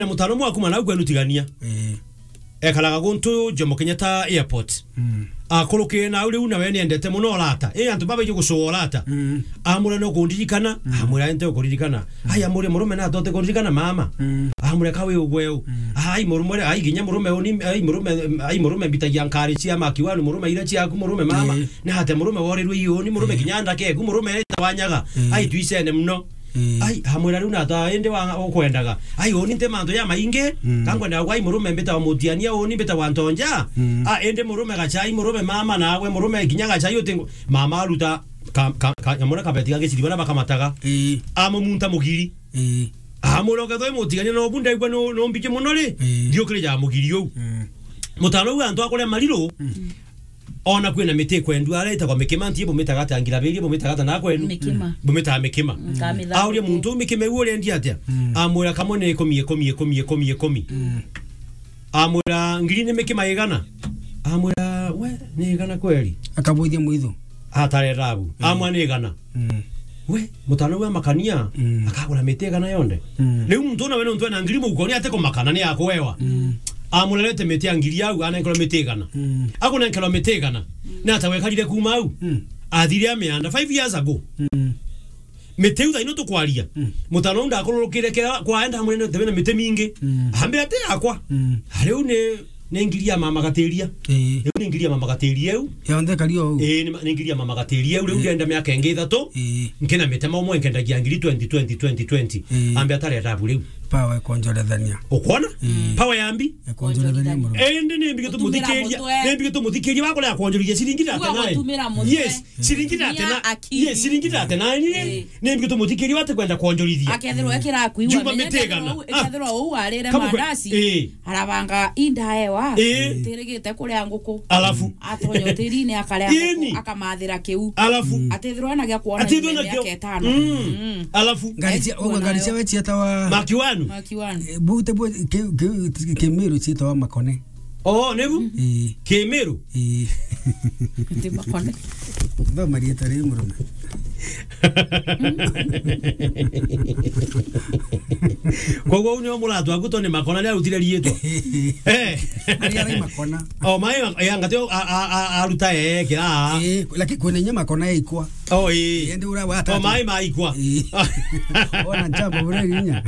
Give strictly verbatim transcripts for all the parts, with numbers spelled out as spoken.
na mutano mwaku mana kwenu tigania. Eh. Ekaraga guntu Jomo Kenyatta Airport. Mm. Akurukire nau riu nawe niendete muno urata. Eh, antu babaiji gucua urata. Mm. Amwira, "No kundirikana?" Mm. Amwira, "Nte ukuririkana." Mm. Ai, amwira, "Murume na tote kuririkana mama." Mm. Amwira, "Ka wi ugwe u." Mm. Ai, murume, ai, ginya murume uni, ai, murume, ai, murume mbitagia nkari cia maki wanu, murume ira ciaku, murume mama. Eh. Na ate murume worirwe iuni, murume, eh, ginya ndake eku, murume eta wanyaga. Eh. Ai, tuicene muno. Eh. Ai, amwira, "Riu nata indi wa ukwendaga?" Ai, uni nte mantu ya maingi. Mm. Kangwenda gwa ai murume mbita wa mutiania, uni mbita wa ntonja. Mm. Ah, indi murume gachai, murume mama nawe, murume ginya gachai uti mama aruta ka, ka, ka, nyamura kabeti gagiciri bana bakamataga. Eh. Amumunta mugiri. Eh. Amwira, "Ukethwa i mutiania no bu ndaigua no, no mbiji muno ri, eh, ndiukirija mugiri uu." Mm. Mutano uu antu akuria mariru. Mm. Ona kwina miti ikwendua, aria itagwa mikima, nti bumitaga atia, ngirabiria bumitaga atia na kwenu? Mikima. Bumitaga mikima. Mm, ka mitha. Auria muntu uu, "Mikima iu urendia atia?" Mm. Amwira, "Kamwe ni ikumi, ikumi, ikumi, ikumi, ikumi." Mm. Amwira, "Ngiri ni mikima igana?" Amwira, "We, ni igana kweli?" Akabuithia mwitho. Atarera abu. Mm. Amwa ni igana. Mm. We, mutano wa makania, mm, akagura miti igana yonde. Mm. Riu muntu nawe nontu ena ngiri mukoni ate kumakana ni akuewa. Mm. Amurerete miti ya ngiri au, anenkerwa miti igana. Mm. Akunenkerwa miti igana. Mm. Na ata wekarire kuma au? Mm. Athire amianda five years ago. Mm. Miti iu thaino tukwaria. Mm. Mutano uu ndakururukire kira kwaenda amwene tebe na miti mingi. Mm. Ambira ati yakwa. Mm. Ariu ni ni ngiri ya mama gatiria. Ii. Riu ni ngiri ya mama gatiria iu. Yonthe kari o u. Ii, ni ma-, ni ngiri ya mama gatiria iu. Riu, ii, ndienda miaka ingi ithatu. Ii. Nkina mitema umwe nkendagia ngiri twenty, twenty, twenty, twenty. Ii. Ambe atareta abu riu. Power ikonjorethania. Ukwona? Ii. Power ya mbi? Ikonjorethania muno. Indi ni mbige tumuthikiria. Gutumira mutwe. Ni mbige tumuthikiria wakole akonjorithia ciringi thirty-nine. Gutumira mutwe. Yes. Ciringi thirty-nine. Tumia akili. Yes, ciringi thirty-nine ri. Ii. Ni mbige tumuthikiria wate kwenda kwonjorithia. Akethirwa ekira aku iwa. Juma menya miti igana. Ikethirwa u-, ikethirwa u arire mandaci. Ii. Arabanga indaewa, ii, ntirigite kuria nguku. Alafu? Atonya utirine akaria nguku, akamathira kiu. Alafu? Atithirwa ena gia kuona. Atithirwa na miaka itano. Mm. Mm. Alafu? Ngari cia, ugwe ngari cia we cietawa Makiwanu? Makiwanu. Eh, bute bu, ki, ki, Kimiru cietawa makone. Oh, nibu? Ii. Kimiru? Ii. Nti makone. Thoma rieta riu murume. Koguo uu nio muratu aku to ni makona ni arutire riitwa. Eh. Ari arai makona. O mai ma-, ya ngati o a, a, a, aruta ee kira. Eh, lakini kwina inya makona ya ikwa. O ii. Ende ura wa tatu. O mai ma ikwa. Ii. Ona njambo bure inya.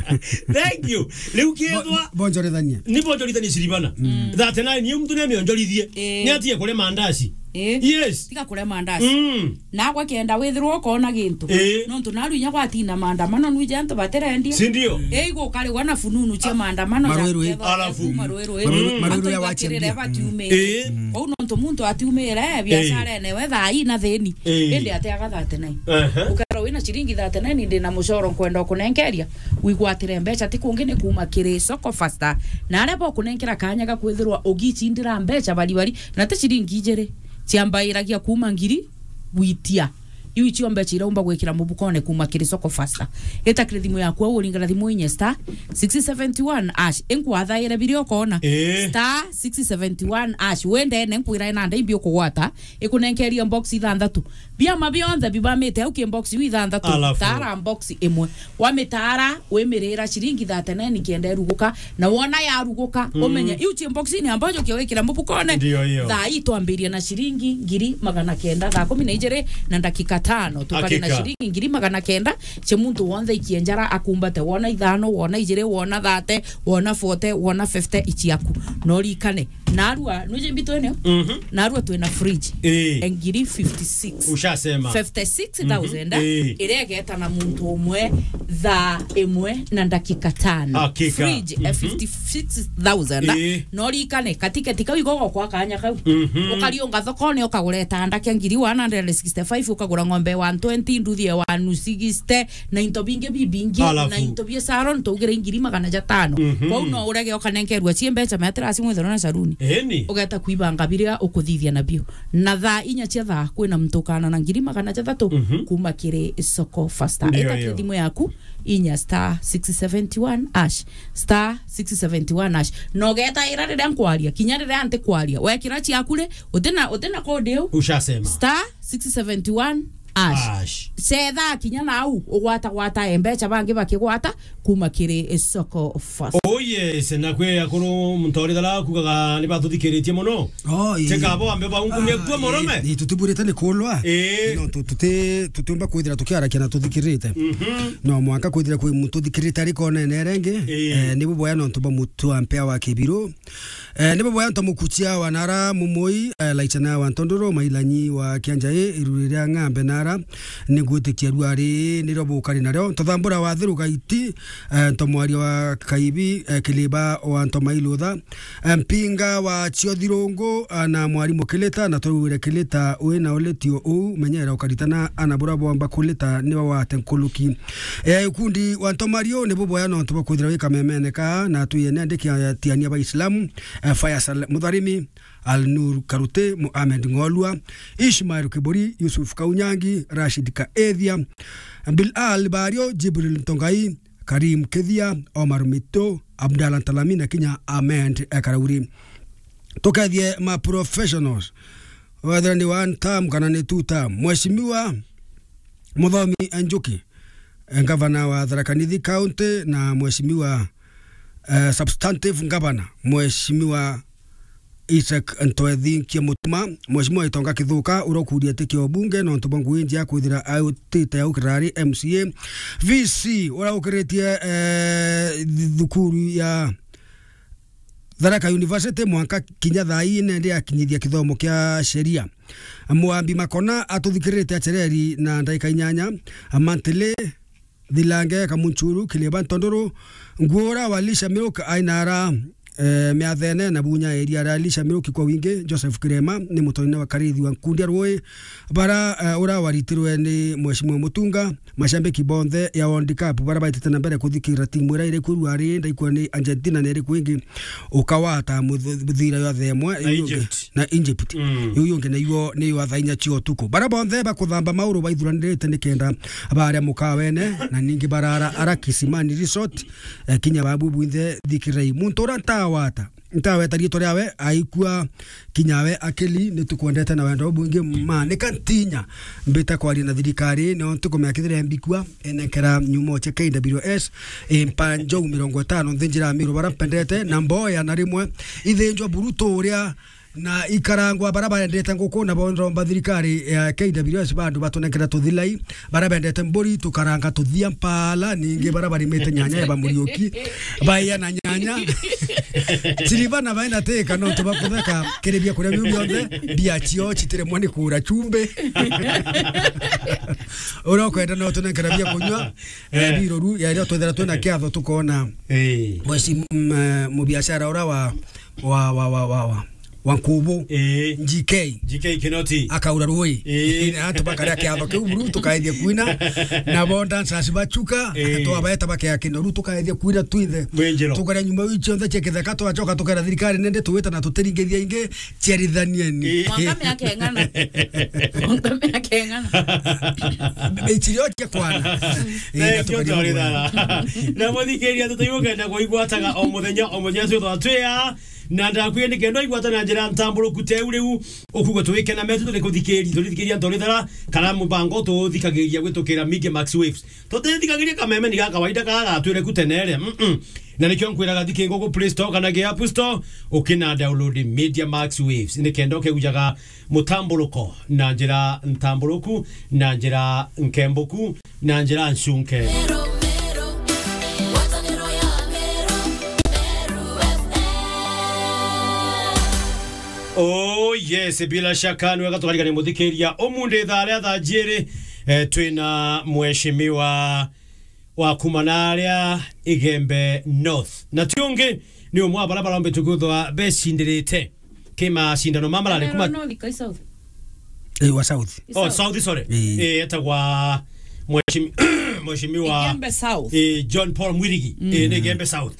Thank you. Riu kethwa bo-, bonjorithania. Ni bonjorithania ciribana. Mm. Thirty-nine yo mtu ni amionjorithie. Eh. Ni atie kule mandaci. Eh. Yes. Tiga kule mandaci. Mm. Nagwe kenda withirwa ukona gintu. Ii. Nontu naru inya gwatina maandamano nwije antu batirendia. Si ndio? Ii, gukarigwa na fununu cia maandamano. Marwirwi. Alafu? Marwirwi. Marwirwi, mm, marwirwi ya wachembia. Batiumire. Mm. Ii. Kwou nontu muntu atiumire, ii, biacara ene we thaa ii na thini. Ii. Indi atiaga thirty-nine. Aha. Ukerwa wina ciringi thirty-nine, ndi na mucoro nkwenda ukunenkeria, wigwatire mbeca ti kungi ni kuma kiri Soko Faster. Na aria bokunenkera kanya ga kwithirwa ugichindira mbeca bari bari, na ti ciringi ijiri, ciambairagia kuma ngiri gwitia. Iu icio mbeca iraumba gwikira mubukone kuma kiri Soko Faster. Ita kiri thimu yaku au uringana thimu inye star six seventy one hash. Inkwathaire biria ukona. Ii. Star six seventy one hash. Wendene nkwira ina ndai mbi ukugwata. Ikunenkeria box ithanthatu. Biama bionthe bibamite au ki box iu ithanthatu. Alafu? Tara box imwe. Wamitara, wimirira ciringi thirty-nine kenda iruguka. Na wona yaruguka, mm, umenye, iu chi box-ini ambayo ukia wikira mubukone. Ndio hiyo. Thaa ii twambiria na ciringi ngiri magana kenda, thaa kumi na ijiri na ndakika tano. Tukari na, hakika, ciringi ngiri magana kenda, chi muntu wonthe ikienjara akumbate, wona ithano, wona ijiri, wona thirty, wona forty, wona fifty, ichiaku. No rikane. Narua, nuje mbitu eneo? Mhm. Narua twina fridge. Eh. Ngiri fifty-six. Ushasema. Fifty-six thousand, mhm, eh, iria igeta na muntu umwe thaa imwe na ndakika tano. Hakika. Fridge, eh, mhm, fifty-six thousand. Eh. No rikane, katikati kau igogo kwa kanya kau. Mhm. Ukariunga thokone, ukagura itanda kia ngiri one hundred sixty-five, ukagura ng'ombe one twenty, nduthi ya one sixty, na into bingi bibingi, alafu, na into bia salon, tugire ngiri magana jatano. Mhm. Kwou no urege ukanenkerua cie mbeca, meatira aci mwithero na saluni. Eni. Ugeta kuibanga biria ukuthithia nabio. Na thaa inya cia thaa kwina mtukana na ngiri magana jathatu, mhm, kuma kiri Soko Faster. Ndio. Ita kiri hiyo thimu yaku, inya star six seventy one hash, star six seventy one hash. Na ugetaira riria nkwaria, kinya riria ntikwaria. Wekira ciaku ri, utina, utina code iu. Ushasema. Star six seventy one Ash. Ash. Cetha kinya nau, ugwata gwata mbeca bangi bakigwata kuma kiri Soko Fast. Oh yes, na kwi akuru muntu urithara kugaga ni batuthikiritie muno. Oh, ii. Teka bo ambe baungumia Ah, kuo murume. Ii, ii, tutiburite ni kulwa. Ii. No, tu-, tuti-, tutiumba kwithira tukiarakia na tuthikirite. Mhm. No mwanka kwithira kwi muntu uthikirite ari konene rengi. Ii. Eh, ni buboya nontu bwa mutu ampea wa kibiru. Eh, ni buboya nto mukuchia wa nara mumui, eh, laichana wa ntondoro, mailanyi wa kianjai, iruri ria ng'ambe nara, ni ngwitikia ruari, ni rio bukari nario. Ntothambura wa thiru gaiti, eh, nto mwaria wa kaibi, eh, kiliba wa nto mailutha, eh, mpinga wa chiothirungu, eh, na mwarimu kilita, na twigwire kilita, wi na ulitio uu, menyera ukaritana, ana bura bomba kulita, ni wawate nkuluki. Eh, ikundi wa nto mario, ni buboya nontu bwa kwithira wi kamemene ka, na twiyene ndiki ya tiania ba Islamu, eh, Faisal Mutharimi, Al Nur Karute, Mohamed Ngolwa, Ishmael Kiburi, Yusuf Kaunyangi, Rashid Kaethia, Bilal Bario, Jibril Ntongai, Karim Kethia, Omar Mito, Abdallah Ntalami na kinya Ahmed, eh, Karauri. Tukethie ma professionals, whether ni one term kana ni two term. Mheshimiwa Muthomi Njuki, eh, ngavana wa Tharaka Nithi County, na Mheshimiwa, eh, substantive governor, Mheshimiwa Isaac Ntwethinkia Mutuma, Mheshimiwa Itonga Kithuka, uria ukuria iti kia ubunge nontu bwa ngugi njia kwithira autite aukirari M C A, V C, uria ukiritie, eh, thukuru ya Tharaka University mwanka kinya thaa ii nende akinyithia kithomo kia sheria. Mwambi Makona atuthikirite achereri na ndaika inyanya, Mantele, Thilange, Kamunchuru, Kiliba, Ntondoro, Nguura wa Lisha Milk, Ainara, eh, Miathene na Bunya area ra Lisha Milk kwa wingi. Joseph Kirema ni mutonine wa Karithi wa nkundi ya Rui, bara, eh, ura waritirwe ni Mheshimiwa Mutunga. Mashambiki bonthe ya World Cup bara baitite na mbere kuthikira timu ira iri kwirua ari ndaikua ni Argentina na iri kwingi ukawata muthu-, muthira ya themwe. Na Egypt. Na Egypt. Mm. Iu yungi nayo ni yo thaa inya cia utuku. Bara bonthe bakuthamba mauru baithuranirite nikenda baria mukawene, na ningi barara ara Kisimani Resort, eh, kinya babu bwinthe thikirai. Muntu uria ntawata, ntaweta riitwa riawe, aikua kinya we akili, ni tukwendete na wendo bwingi ma. Nika ntinya mbita kwaria na thirikari, nio ntikumea kithire mbikua, enekera nyumo cia K W S, impa njou mirongo itano nthi njira ya Miru bara mpendete, na mboya na rimwe ithinjwa burutu uria na ikarangwa bara baendete nguku na bonromba thirikari ya K W S bandu batunengera tuthilai, bara bendete mburi tukaranga tuthia mpala, ningi bara barimite nyanya ya bamuriuki, baiya na nyanya. Chiriba na baina teka no tubakutheka kiri bia kuria biu bionthe, bia cio chitiremwa ni kura chumbi. Uria ukwenda no tunengera bia kunywa, eh, biroru ya rio twethera twina kiatho tukona. Eh. Mwesi, mm, eh, mubiashara uria wa, wa, wa, wa, wa, wa. Wa Nkubu, Ii. G K. G K Kinoti. Akaura rui. Ii. Antu bakaria kiatho kiu buru, tukaethia kwina. Na bo dancers bachuka, Ii. Twabaeta bakea kinoru, tukaethia kwina twinthe. Mwinjiro. Tukaria nyuma iu cionthe cia kitheka, twachoka tukera thirikari, nende tuwita na tutiringithia ingi, ciarithanieni. Ii. Mwanka miaka ing'ana. Mwanka miaka ing'ana. Ichirio cia kwana. Ii, na Thank you, tukaria Tori mwana. Thara. Na muthikiria, tutaigua kenda kuigwataga o muthenya, o muthenya, twi twatwia. Na ndakwire ni kenda igwata na njira ntamburuku teu riu, ukuga tuwike na metu turi kuthikiri-, turithikiria ntori thara, kana mubango tuthikagiria gwitukira Media Max Waves. Tutithikagiria kameme ni ga kawaida ka gatwire ku tenere. Mm-mm. Na nikio nkwiraga thiki nguku Play Store kana gi App Store, ukina download Media Max Waves. Ni kenda ukeujaga mutamburuko na njira ntamburuku, na njira nkembuku, na njira ncunke. Oh yes, bila shaka ni wega tukarigania muthikiria. Umundi thaa ria thaa jiri, eh, twina mheshimiwa wa kuma na aria Igembe North. Na ti ungi, ni umwe wa bara barombetwe kwithwa becindirite ki macindano ma marari kuma North, kai South? Eh, wa South. Oh, South. South, sorry. Eh. Eh, etagwa mheshimi-, mheshimiwa, Igembe South. Eh, John Paul Mwirigi. Mm. Eh, ni Igembe South.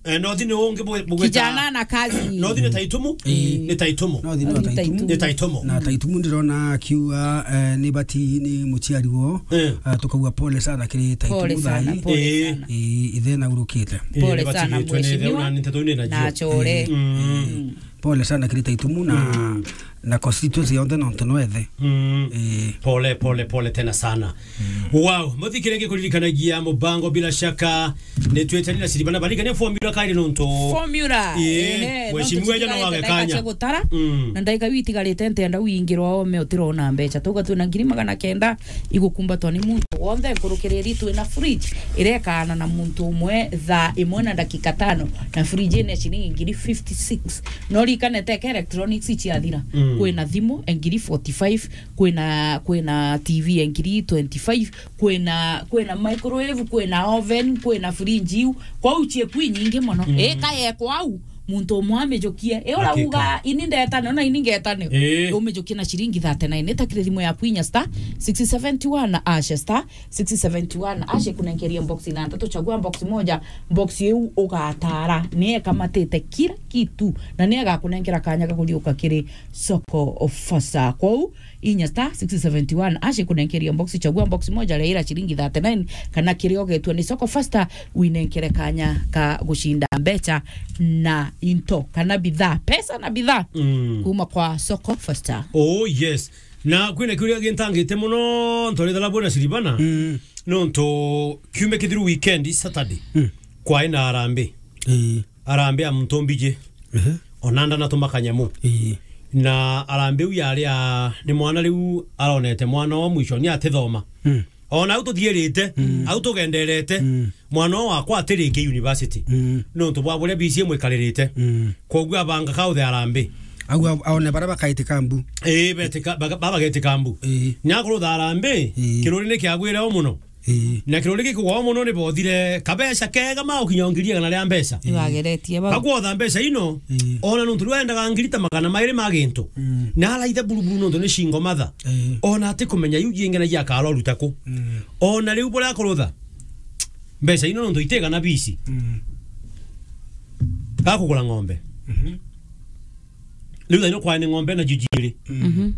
Eh, North ni ungi bu-, bugweta Kijana na kazi. North ni Taitumu? Eh. Ni Taitumu. North ni North ni Taitumu. Taitumu. Ni Taitumu. Na Taitumu ndirona akiuga, eh, ni bati ni muciari wo. Eh. Ah, tukauga pole sana kiri Taitumu. Pole sana, thai. Pole Eh. sana. Eh, ithe na urukite. Eh, pole ni bati sana, gitwe ni ithe mheshimiwa. Una ni nteto ni na Na jio. Achore. Mm. Mm. Pole sana kiri Taitumu na, mm, na constituency yonthe nontu no ethe. Mm. Eh. Pole, pole, pole tena sana. Mm. Wow, muthikire ngikuririkanagia mubango bila shaka ni twetani na Siribana barigania formula kairi nontu. Formula. Eh, ehe, mheshimiwa nontu jana wage kanya. Gutara. Mm. Na ndaika witigarite ntenda wingirwa ome utirona mbeca. Tuga twina ngiri magana kenda igukumbatwa ni muntu wonthe nkurukiriri twina fridge irekana na muntu umwe thaa imwe na ndagika tano na fridge ina ciringi ngiri fifty six. No rikane teke electronics ciathira. Mm. Kwina thimu engiri forty five, kwina, kwina T V engiri twenty five, kwina, kwina microwave, kwina oven, kwina fridge iu. Kwau cie kwi nyingi mono. Mm. Ika ye kwau, muntu umwe amijukie. E ura uga ini ndetane, ona ini ngetane. Eh. Umijukie na ciringi thirty nine. Ita kiri thimu yaku inya star six seventy one hash, star six seventy one hash, kunenkeria box na ntatu, chagua box moja, box iu ugatara. Ni ekamatite kila kitu. Na ni agakunenkera kanya ga kuriuka kiri Soko Fasta. Kwou, inya star six seventy one hash kunenkeria box, chagua box moja, reira ciringi thirty nine, kana kiria ugetwa ni Soko Fasta, winenkere kanya ka gucinda mbeca na into, kana bidhaa, pesa na bidhaa. Mm. Kuma kwa Soko Fasta. Oh, yes. Na kwina kiuria gintangite mono, ntoritha labona Siribana. Mm. Nontu kiumia kithiru weekend, Saturday, mm, kwae na arambe. Ii. Arambe a muntu mbiji. Ehe. Ona ndana tumakanyamu. Ii. Na arambe u yari a, ni mwana riu aronete mwana o mwisho ni atithoma. Mm. Ona au tuthiirite, mm, au tugenderete, mm, mwana o wakwa atiriki university. Mm. Nontu bwa buria B C A mwikaririte. Mm. Kwoguo abanga kauthe arambe. Au a-, aone bara bakaitika mbu. Ii, betika, baga-, baba getika mbu. Ii. Nyakurutha arambe, ii, kiruri ni kiagwire o mono. Ii. Na kiruri gikugwa o mono ni bothire kabeca kega ma ukinya ngiri igana ria mbeca. Ibageretie bau. Bakwotha mbeca ino, ii, ona nontu riu endaga ngiri ta magana mairi ma gintu. Mm. Na araitha buruburu nontu ni cingo matha. Ii. Ona atikumenya iu jingi na jiakara uruta ku. Mm. Ona riu buria akurutha mbeca ino nontu itigana bisi. Mm. Gakugura ng'ombe. Mhm. Riu thaino kwae ni ng'ombe na jujiiri. Mhm.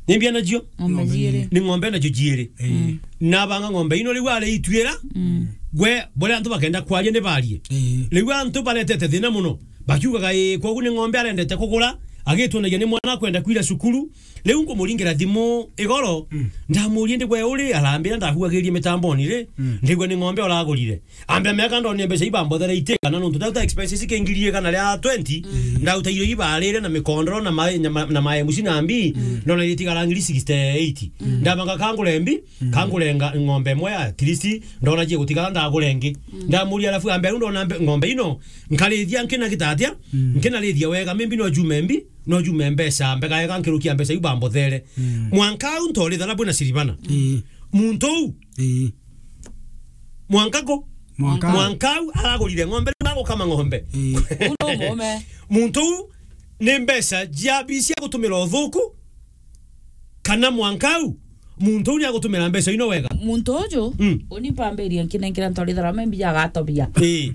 Ni mbia nacio? Ng'ombe jiiri. Ni ng'ombe na jujiiri. Mm. Na banga ng'ombe ino riu ari itwira. Mm. Gwe, boria antu bakenda kwaria ni barie. Ii. Riu antu baretete thina mono. Bakiugaga, "Ii, kwogu ni ng'ombe arendete kugura, agitwonagia ni mwana akwenda kwira cukuru." Riu nkumuringira thimu igoro, mm, ndamurie, "Ndigwe uri?" Arambira, ndahugagiria mitamboni ri, mm, ndigwe ni ng'ombe uragurire. Ambia miaka ndonie mbeca ibambothere itigana nontu ndauta expenses ki ngiri igana ria twenty, mm, ndauta irio ibarire na mikondoro na ma-, na ma-, na ma M C na mbi, mm, ndona itigara ngiri sixty eight. Mm. Ndabanga kangure mbi, mm, kangure nga-, ng'ombe imwe at least, ndona jie gutigara ndagure ingi. Mm. Ndamuria, alafu ambia, "Riu ndona mbe-, ng'ombe ino, nkarithia nkina gitatia, mm, nkinarithia wega, maybe no jume mbi, no jume mbeca, mbega wega nkirukia mbeca iu bambothere." Mm. Mwanka au ntoritha na bwina Siribana. Mm. Muntu uu, ii, mwanka ku? Mwanka. Mwanka au aragurire ng'ombe, riu agukama ng'ombe. Ii. Uu no mume. Muntu uu ni mbeca jia bisi agutumira uthuku, kana mwanka au muntu uu ni agutumira mbeca ino wega? Muntu uju, mm, uni mpambiria nkinenkira ntorithara membi jagatobia. Ii.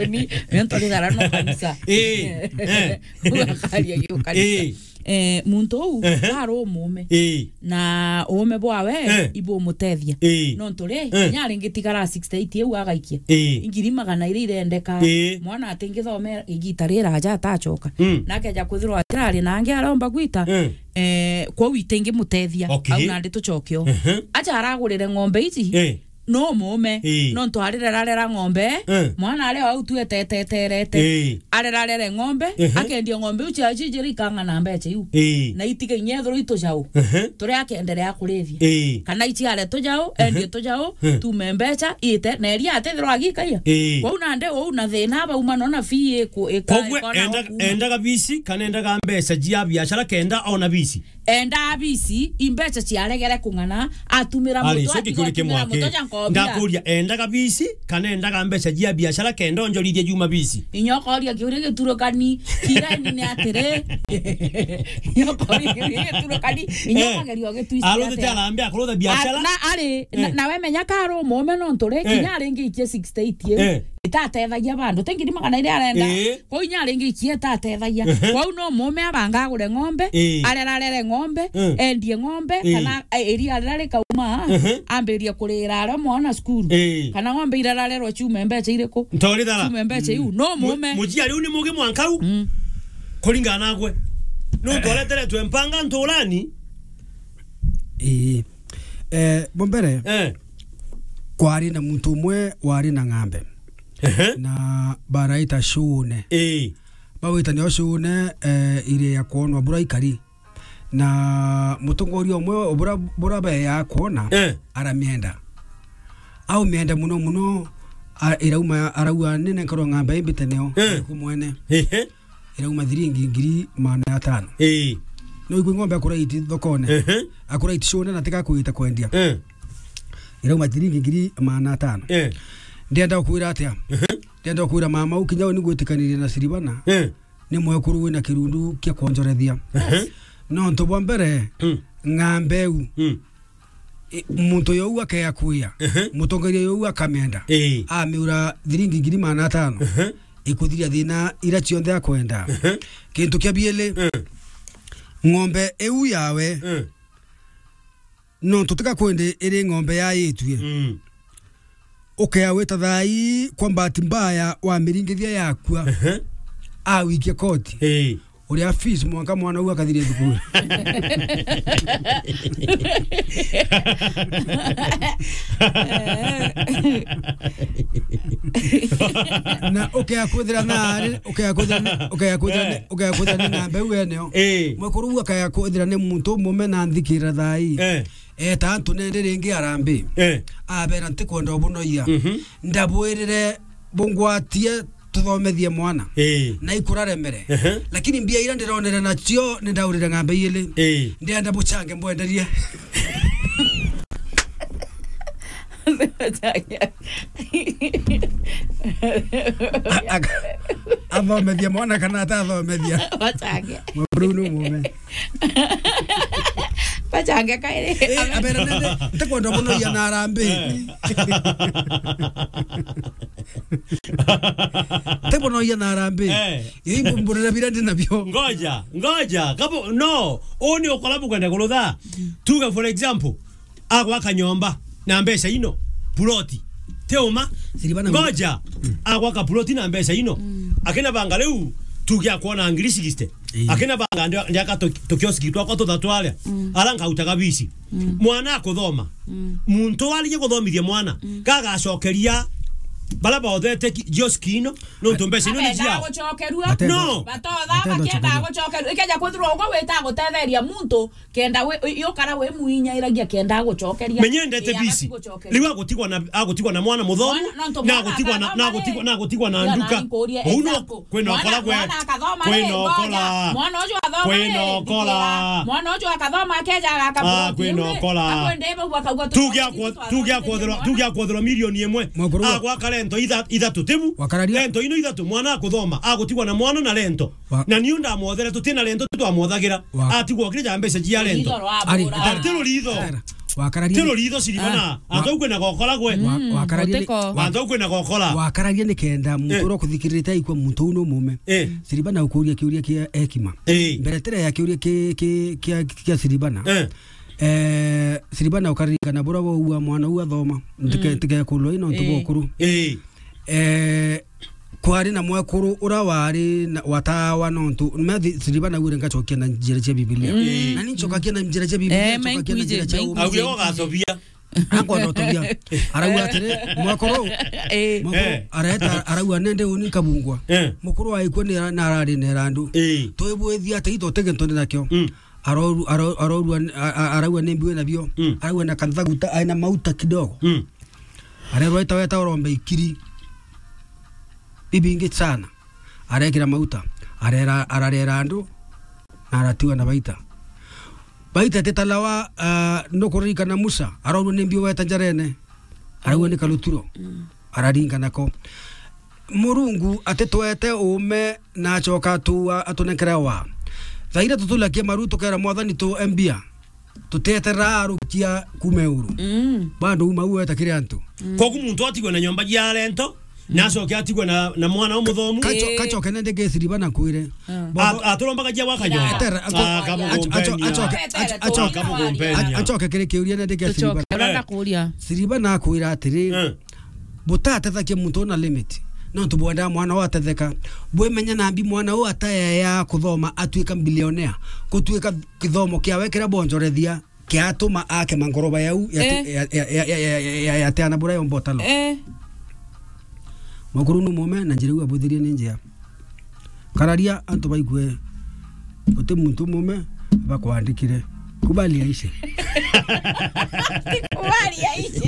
Uni, ni ntorithara no kanisa. Ii. Eh. Ugakaria giukanisa. Ii. Eh, muntu uu, ehe, ari umume. Ii. Na uume bwawe, eh, ibumutethia. Ii. Nontu ri, eh, kinya aringitigara sixty eight iu agaikia. Ii. Ngiri magana iri irendeka. Ii. Mwana atingithome igita riraja atacoka. Mm. Na akeja kwithirwa atirari na angi aromba gwita. Mm. Eh, kwou itingimutethia. Okay. Au nandi tucokio. Ehe. Aja aragurire ng'ombe ici. Eh. No mume, ii, nontu arirerarera ng'ombe, eh, mwana ari o au tu eteteterete. Ii. Arerarere ng'ombe, ehe, akendia ng'ombe iu cia cijiri ikang'ana mbeca iu. Ii. Na itige inya ethirwa itujau. Ehe. Turia akenderea kurithia. Ii. Kana iciare tujau, ehe, endie tujau, eh, tume mbeca, ite, na eria atethirwa agikaia. Ii. Kwou nande uu na thina bauma nona fee iku-, ika-, kogwe ikona endaga, endaga bisi, kana endaga mbeca jia biashara kenda ona bisi. Enda bisi, imbeca ciaregere kung'ana, atumira. Ari, muto, coki atiga kuri atumira kimwake. Muto ja nkobia. Ndakuria, endaga bisi, kana endaga mbeca jia biashara kenda onjorithie juma bisi? Inya ukoria kiuria giturukani, kireni ni atiri. Inya ukoria kiuria giturukani, inya, eh, ukageria ugitwist atia? Arutite arambe akurutha biashara? A-, na ari, na, eh, nawe menya ka ari umume nontu ri, eh, kinya aringi ikie sixty eight iu, eh, itatethagia bandu. Ti ngiri magana iri arenda. Ii. Kwou inya ringi ikie itatethagia. Ehe. Kwou no mume abanga agure ng'ombe, Ii. arera arere ng'ombe, Mm. endie ng'ombe, Ii. kana, eh, iria rira rikauma, Ehe. ambirie kurira aria mwana cukuru. Ii. Kana ng'ombe irararerwa ciume mbeca iriku? Ntori thara. Ciume mbeca iu. No Mu-, mume. Muciari u ni mugi mwanka u. Mm. Kuringana nagwe. Nuntu areteretwe mpanga nturani. Ii. Eh, bo mbere, Eh. kwari na muntu umwe wari na ng'ambe. Ehe. Na baraita Shune. Ii. Bawita nio Shune, eh, iri ya kwonwa bura ikari. Na mutongoria umwe bura, bura be ya kwona, Eh. aramienda. Au mienda muno muno, a-, irauma, arauga, "Nene nkorwo ng'ambe imbite nio, Eh. ku mwene." Ehe. Irauma thiringi ngiri magana atano. Ii. No igwe ng'ombe akuraiti thokone. Ehe. Akuraiti Shune na tika kuita kwendia. Eh. Irauma thiringi ngiri magana atano. Eh. Ndienda gukwira atia? Ehe. Ndienda gukwira mama u kinya u ni gwitikanirie na Siribana. Eh. Ni mwekuru wina kirundu kia kwonjorethia. Ehe. Nontu bwa mbere, Mm. ng'ambe u. Mm. I-, muntu yau akea kuya, Ehe. mutongeria yau akamenda, Ii. amiura thiringi ngiri magana atano, Ehe. ikuthiria thina ira cionthe akwenda. Ehe. Kintu kia bieli, Eh. ng'ombe iu yawe, Eh. nontu tika kwendi iri ng'ombe yaitue. Mm. Ukea wita thai, kwa bahati mbaya, wamiringithia yakua. Ehe. Awikia koti. Ii. Uria fees mwanka mwana u akathire thukuru. Na ukea kwithira na ari, ukea kwithira ni, ukea kwithira ni, Eh. ukea kwithira ni ng'ambe u eneo. Ii. Mwekuru u akea kwithira ni muntu umume na nthikira thai. Eh. Eta antu nende ringi arambi. Eh. Abera, "Ntikwenda ubunoia. Mhm. Ndabwirire bungwatie tuthomethie mwana." Eh. Na ikuraremere. Ehe. Lakini mbia ira ndironere nacio ni ndaurire ng'ambe iili. Eh. Ndienda buchange mbwenderie. A-, aka-, athomethia mwana kana atathomethia? Bachange. Mwaru ni mume. Bachange kairi. Eh, abera nende, ntikwenda muno ia na arambi. Eh. Ntikwenda ia na arambi. Eh. Ii mbumburira bira ndi nabio. Ngoja, ngoja. Kabo, no, uni ukora bukwenda kurutha. Tuge for example, agwaka nyomba na mbeca ino, ploti. Ti uma? Siribana. Ngoja. Mm. Agwaka ploti na mbeca ino. Mm. Akina banga riu, tugia kuona ngiri sixty. Ii. Akina banga ndia-, ndiaka tu-, tukioski twakwa tuthatu aria. Mm. Ara nkautaga bisi. Mm. Mwana akuthoma. Mm. Muntu arigie kuthomithia mwana, Mm. gagacokeria bara baothete ki-, kioski ino, nontu mbeca ino ni ciao. Gucokerua. Matendo. No. Batotha Matendo bakienda chakanywa. Gucokerua. Ikeja kwithirwa ugo wita gutetheria muntu, kenda wi-, i-, yukara wi mwinya iragia kenda agucokeria. Menyendete Ii, bisi. Agati gucokeria. Riu agutigwa na, agutigwa na mwana muthomu, Mwana, nontu na mwana agutigwa na, akathoma na agutigwa, ri? Na agutigwa na Ndio, nduka. Na nkurie Uu no example. Kwina Mwana, ukora gwe, mwana akathoma kwina ri? Ukora. Ngoja. Mwana ucio athoma Kwina ri? Ukora. Ndikira. Mwana ucio akathoma akeja agaka Ah, ploti kwina iu ri? Ukora. Akwende bau akauga Tugia tuthome kwa, tugia kwotherwa, tugia kwotherwa milioni imwe. Mwakuru wa Agwaka rento itha-, ithatu tibu. Wakararia. Rento ino ithatu, mwana akuthoma, agutigwa na mwana na rento. Wa- Na niu ndamwothere, tutina rento twamwothagira. Wa- Atigwo kiri ja mbeca cia rento. Rutitho rwa Ari, bura. Ari, ti ruritho. Era, wakararia Ti ni- ruritho, Siribana. Ah. Antu au kwina gokora gwe. Wa-, Mm, wakararia ni- mutiko. Antu au kwina gokora. Wakararia ni kenda muntu Eh. uria ukuthikirite aikua muntu uu ni umume. Eh. Siribana ukuria kiuria kia ekima. Eh. Mbere tira ya kiuria ki-, ki-, kia, kia Siribana. Eh. Eh, Siribana ukaririkana buria waua mwana uu athoma. Ntike-, Mm. ntikekulwe ino ntu Eh. bokuru. Eh. Eh, kwari na mwekuru uria wari na, watawa nontu, methi Siribana wire ngacokia na njira cia Biblia. Mm. Na ni ncokagia na njira cia Biblia, Eh, ncokagia na njira cia mainkwije, uumithio. Auge mainkwije. Ugacobia. Akwenda utobia. Arauga atiri, mwekuru, Eh. mwekuru Eh. areta, arauga nende uni nkabungwa. Eh. Mukuru aikua ni ara-, na arari na erandu. Eh. Twibwithia ati ito tege ntoni nakio. Mm. Aroru-, aro-, arorua, a-, a-, araua ni mbiwe nabio. Mm. Araua na kanthaguta, aina mauta kidogo. Mm. Arerwa ita weta urombe ikiri. Bibingi sana. Arekira mauta. Arera, ararera andu. Na aratiwa na baita. Baita titalawa, ah, nukuririkana Musa. Arorua ni mbiwe weta njarene. Araua ni kaluturo. Mm. Araringa nako. Murungu atitwete uume na acoka atua atunenkere wa. Thaira tutulakie maru tukera Mwathani tu embia. Tuteterera arukia kuuma iguru. Mm. Bado uma ueta kiri antu. Mm. Kogu muntu atigwe na nyomba cia rento, Na acoke atigwe na, na mwana umuthomu. Kacho-, eh, kachoke nende gesiriba na kwire. Ah. Boko- A-, aturombaga jia waka nyomba. Etera, acho-, ah, kamugumpenia. Acho-, acho-, acho-, acho-, kamugumpenia. Achoke kiri kiuria nende gesiriba. Tucoke. Ura, eh, ndakuria. Siriba nakwira atiri, eh, butatethakia muntu una limit. No tubwenda mwana wa atetheka. Bwimenya nambi mwana u ataya ya kuthoma atuika billionaire. Kutuika kithomo kiawe kira bonjorethia kiatuma akema ngoroba yau ya, eh, ya, ya, ya teana bura yomba utalo. Eh. Mukuru ni mume na njira iu abuthirie ni njia. Kararia antu baigue uti muntu mume bakwandikire. Kubali aishe. Kubali aishe.